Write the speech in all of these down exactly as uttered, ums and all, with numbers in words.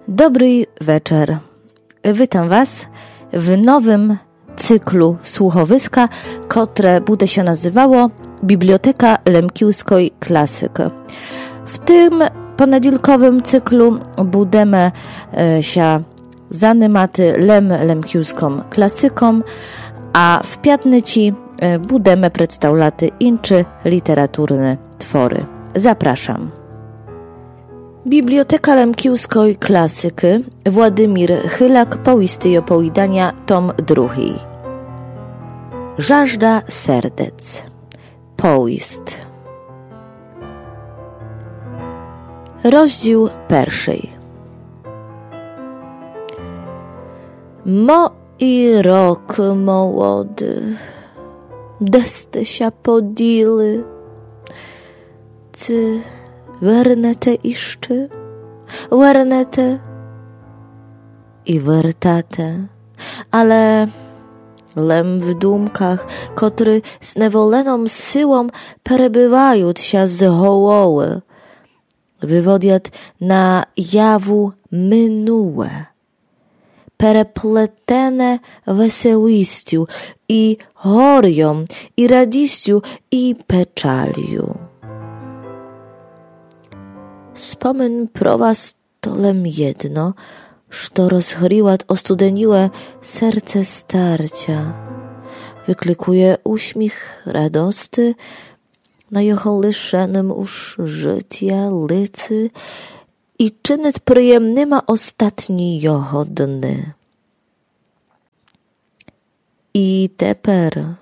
Добрый вечер. Вітам вас в новым цикlu słuchowiska, котре буде ся называло Бібліотека лемківской класикы. В тым понеділковым цикlu будеме, е, ся занимати лем лемківском класиком, а в пятниці, е, будеме представляти інчы літературны творы. Запрашам. Бібліотека лемківской класикы, Владимір Хиляк, Повісти й оповіданя, том другій. Жажда сердец. Повіст. Розділ першый. Мой рок молоды, де сте ся поділи? Ци вернете іщы? Вернете і вертате, але лем в думках, котры з неволеном силом перебывают ся з головы, выводят на яву минуле, переплетене веселістю і горьом, і радістю, і печалю. Спомин про вас то лем єдно, што розгріват остуденіле серце старця, выкликує усміх радосты на його лишеным уж жытя лици і чынит приємныма остатні його дни. І тепер,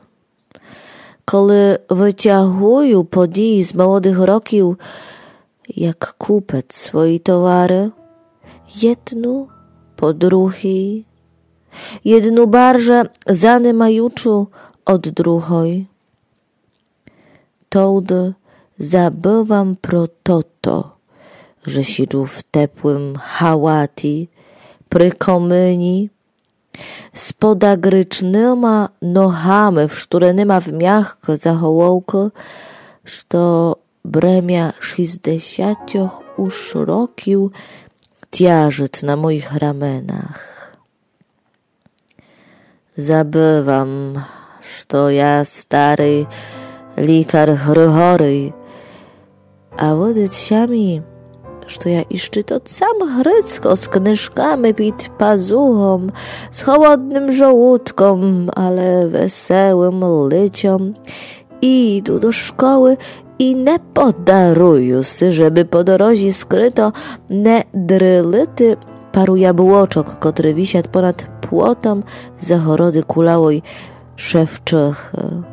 коли вытягую події з молодых років, як купец свої товары, єдну по другій, єдну барже занимаючу од другой, товды забывам про тото, же сіджу в теплым халаті при комыні з подагрычныма ногами, вштуреныма в мягкы заголовкы, што бремя шістдесятьох уж років тяжыт на моїх раменах. Забывам, што я старый лікар Григорый, а выдат ся мі, што я іщы тот сам Грицко з книжками під пазухом, з холодным жолудком, але веселым лицьом, іду до школы і не подарую си, жебы по дорозі скрыто не дрылити пару яблочок, котры висят понад плотом загороды кулявой Шевчихы.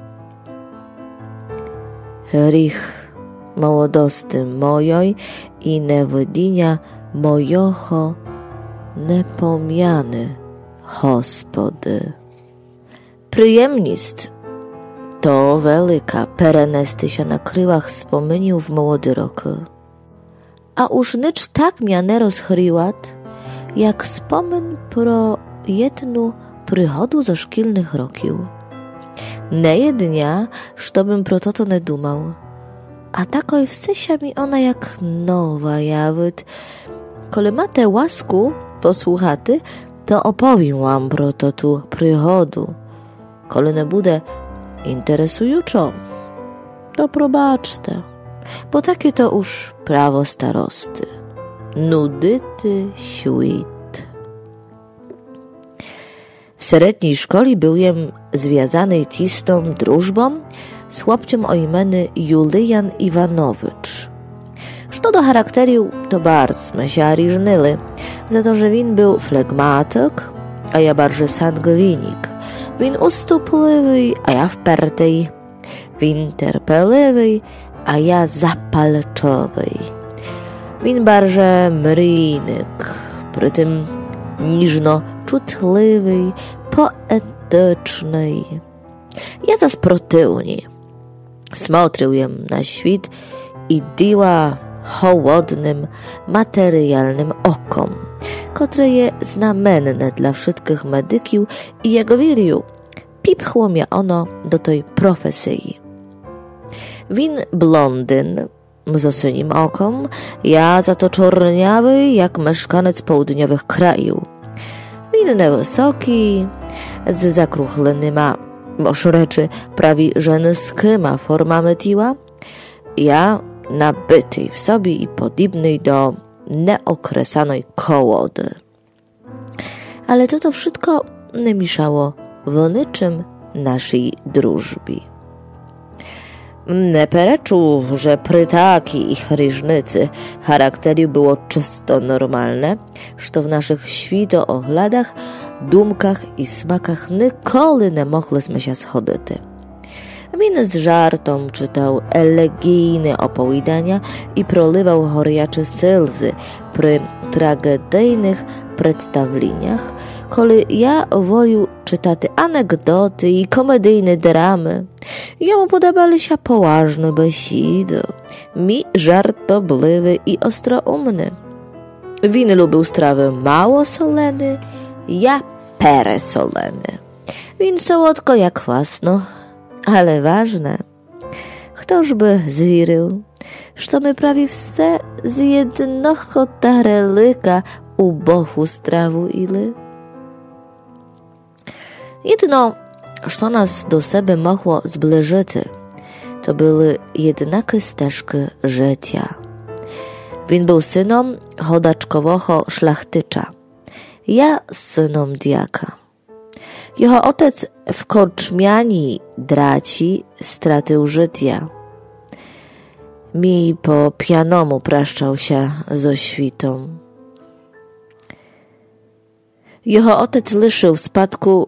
Гріх молодосты мойой і невыдіня мойого не помяны, Господи. Приємніст то велика перенести ся на крылах спомынів в молоды рокы. А уж нич так мя не розгрілат, як спомын про єдну пригоду зо шкільных років. Не є дня, што бым про тото не думал. А такой все ся мі она як нова явит. Коли мате ласку послухати, то оповім вам про тоту пригоду. Коли не буде інтересуючо, то пробачте, бо таке то уж право старосты. Нудити світ. В середній школі был єм звязаный тістом дружбом з хлопцьом о імены Юлиян Іванович. Што до характерів, то барз сме ся ріжнили, за то, же він был флеґматик, а я барже сангвінік. Він уступливый, а я впертый. Він терпеливый, а я запальчивый. Він барже мрійник, при тым ніжно чутливый, поетичный. Я зас противні. Смотрил єм на світ і діла холодным, матеріялным оком, котре є знаменне для вшыткых медиків, і, як вірю, піпхло мя оно до той професії. Він блондин, зо синім оком, я за то чорнявый, як мешканець поудньовых краёв. Він невысокій, з закруглыма, мож речы, праві женыскыма формами тіла, я набытый в собі і подібный до неокресаной колоды. Але тото вшытко не мішало в ничым нашій дружбі. Не перечу, же при такій ріжниці характерів было чысто нормалне, што в нашых світооглядах, думках і смаках николи не могли сме ся сходити. Він з жартом чытав елеґійны оповіданя і проливав горячы сльзы при траґедійных представленях, коли я волів чытати анекдоты і комедійны драмы. Йому подобали ся поважны бесіды, мі жартобливы і остроумны. Він любив стравы малосолены, я пересолены. Він солодко, я квасно, але важне. Хто ж бы звірив, што мы праві все з єдного тарелика убогу страву іли? Єдино, што нас до себе могло зближыти, то были єднакы стежкы жытя. Він был сыном годачкового шляхтича, я сыном дяка. Його отец в корчмяній драці стратив жытя. Мій по пяному пращав ся зо світом. Його отец лишив в спадку